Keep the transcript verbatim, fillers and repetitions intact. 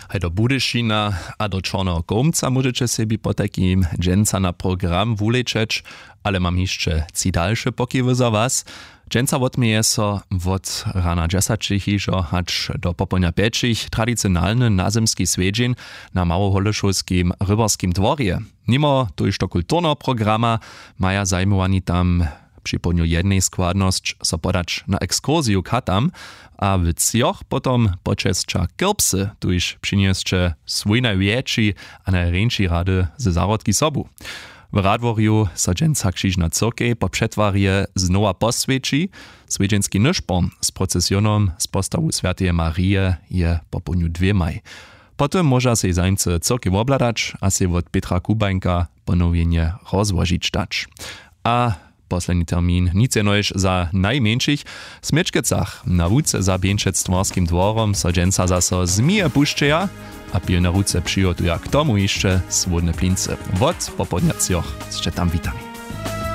Haj do Budyšina a do Čorneho Kołmca móžeće sebi potajkim dźensa na program wulečeć, ale mam hišće tři dalše pokiwy za was. Dźensa wotměje so wot rana dźesaćich hižo hač do popołdnja pjećich tradicionalny nazymski swjedźeń na małoholešowskim rybarskim dworje. Nimo tójšto kulturneho programa maja zajimowani tam připołdnju jednej składnosć so podać na ekskursiju k hatam a w třoch potom počesća kirpsy, tuž přinjesće swój najwjetši a najrjeńši rady ze zahrodki sobu. W radworju so dźensa křižna cyrkej po přetwarje znowa poswjeći. Swjedźenski nyšporn z procesionom z postawu swjateje marije je popołdnju dwěmaj. Potom móža sej zajimcy cyrkej wobhladać a sej wot petra kubańka ponowjenje rozłožić dać. A posledni termin nic jenož za najmjeńšich. W směčkecach na łuce za bjeńšectwarskim dworom so dźensa zaso zmije pušćeja a pilne ruce přihotuja k tomu hišće słódne plincy. Wot popołdnja třoch sće tam witani.